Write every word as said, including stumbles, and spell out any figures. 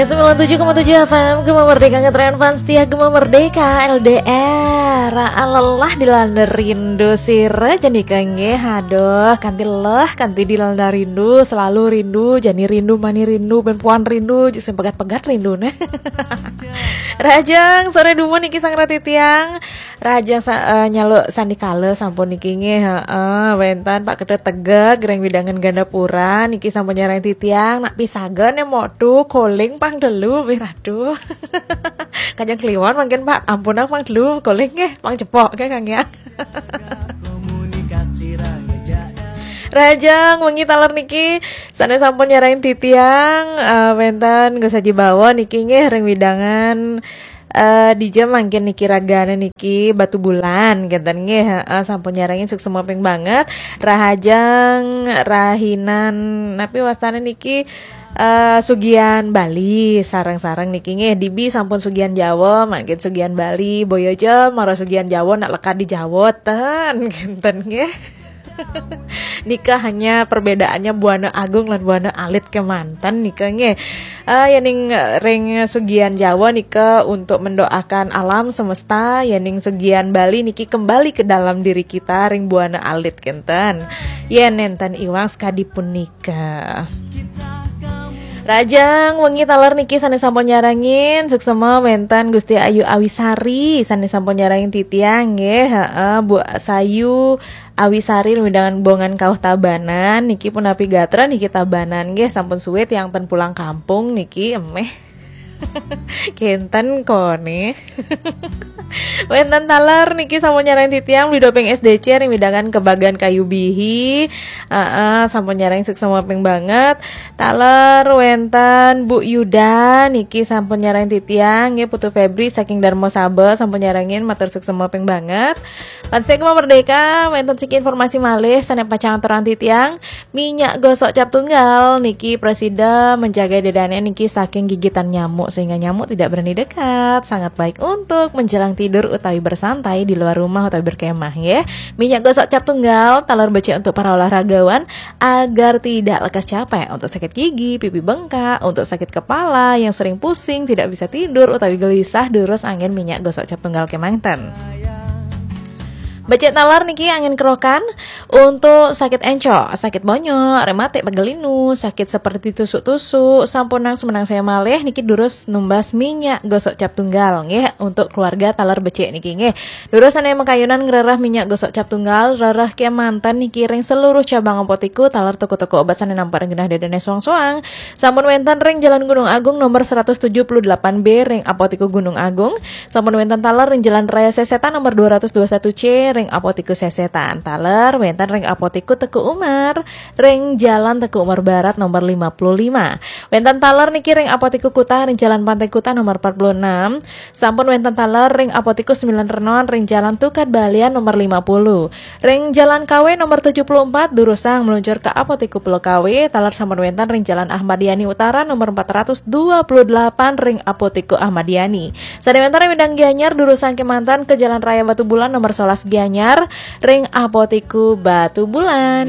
sembilan tujuh koma tujuh F M Gema Merdeka, ngetren fans setia Gema Merdeka. L D R, lelah dilanda rindu sira jani kengge. Aduh, kanti leh, kanti dilanda rindu, selalu rindu, jani rindu, mani rindu, ben puan rindu, sing pegat-pegat rindu nah. Rahajeng sore dumun niki sang ratitiang. Rahajeng sa, eh, nyaluk sandikala sampun niki nggih, heeh, wenten Pak Ketut Tegeg ring wewidangan Gandapura niki sampun nyarengin titiang, nak pisaga ne motu koling pang telu, wih, ratu. Kajeng kliwon mangkin, Pak, ampun pang telu koling nggih, pang cepok nggih, Kang, ya. Rahajeng wengi taler niki sane sampun nyarengin titiang, eh, wenten Gus Haji Bawa niki nggih ring wewidangan, eh, dija mangkin niki ragane niki Batubulan kenten nggih, heeh, sampun nyarengin suksma ping banget. Rahajeng rahinan napi wastane niki, eh, Sugian Bali sareng-sareng niki nggih. Dibi sampun Sugian Jawa, mangkin Sugian Bali, boya ja mara Sugian Jawa nak lekad di Jawa ten kenten nggih. Nika hanya perbedaannya buana agung lan buana alit kemanten nika nggih. Eh, yening ring Sugian Jawa nika untuk mendoakan alam semesta, yening Sugian Bali niki kembali ke dalam diri kita ring buana alit kenten. Yen nenten iwang sekadi punika. Rahajeng wengi taler niki sane sampun nyarengin, suksma wenten Gusti Ayu Awisari sane sampun nyarengin titiang nggih, heeh, Bu Sayu Awisari ring wewidangan Bongan Kauh Tabanan niki punapi gatra niki Tabanan nggih, sampun suwe tiang ten pulang kampung niki emeh. Kenten kone. Wenten taler niki sampun nyarengin titiang Bli Doping S D C ring wewidangan Kebagan Kayu Bihi. Heeh, sampun nyarengin suksma ping banget. Taler wenten Bu Yuda niki sampun nyarengin titiang nggih, Putu Febri saking Darma Saba sampun nyarengin, matur suksma ping banget. Fans setia Gema Merdeka, wenten siki informasi malih sane pacang aturang titiang. Minyak gosok cap tunggal niki prasida menjaga dedane niki saking gigitan nyamuk sehingga nyamuk tidak berani dekat. Sangat baik untuk menjelang tidur utawi bersantai di luar rumah utawi berkemah nggih. Minyak gosok cap tunggal taler becik untuk para olahragawan agar tidak lekas capek, untuk sakit gigi, pipi bengkak, untuk sakit kepala, yang sering pusing, tidak bisa tidur utawi gelisah, durus anggen minyak gosok cap tunggal kemanten. Becik taler niki anggen kerokan untuk sakit encok, sakit bonyok, rematik, pegel linu, sakit seperti tusuk-tusuk, sampun nang semenang saya malih niki durus numbas minyak gosok cap tunggal nggih, untuk keluarga taler becik niki nggih. Durus sane makayunan ngrereh minyak gosok cap tunggal, rereh kemanten niki ring seluruh cabang Apotiku taler toko-toko obat sane nampek ring genah dedene soang-soang. Sampun wenten ring Jalan Gunung Agung nomor seratus tujuh puluh delapan B ring Apotiku Gunung Agung. Sampun wenten taler ring Jalan Raya Sesetan nomor dua ratus dua satu C ring Apotiku Sesetan. Taler wenten ring Apotiku Teuku Umar ring Jalan Teuku Umar Barat nomor lima puluh lima. Wenten taler niki ring Apotiku Kuta ring Jalan Pantai Kuta nomor empat puluh enam. Sampun wenten taler ring Apotiku Sembilan Renon ring Jalan Tukad Balian nomor lima puluh. Ring Jalan Kawe nomor tujuh puluh empat, durusang meluncur ke Apotiku Pulau Kawe, taler sampun wenten ring Jalan Ahmad Yani Utara nomor empat ratus dua puluh delapan ring Apotiku Ahmad Yani. Sane wenten ring wewidangan Gianyar, durusang kemanten ke Jalan Raya Batubulan nomor sebelas Gianyar ring Apotiku Batubulan.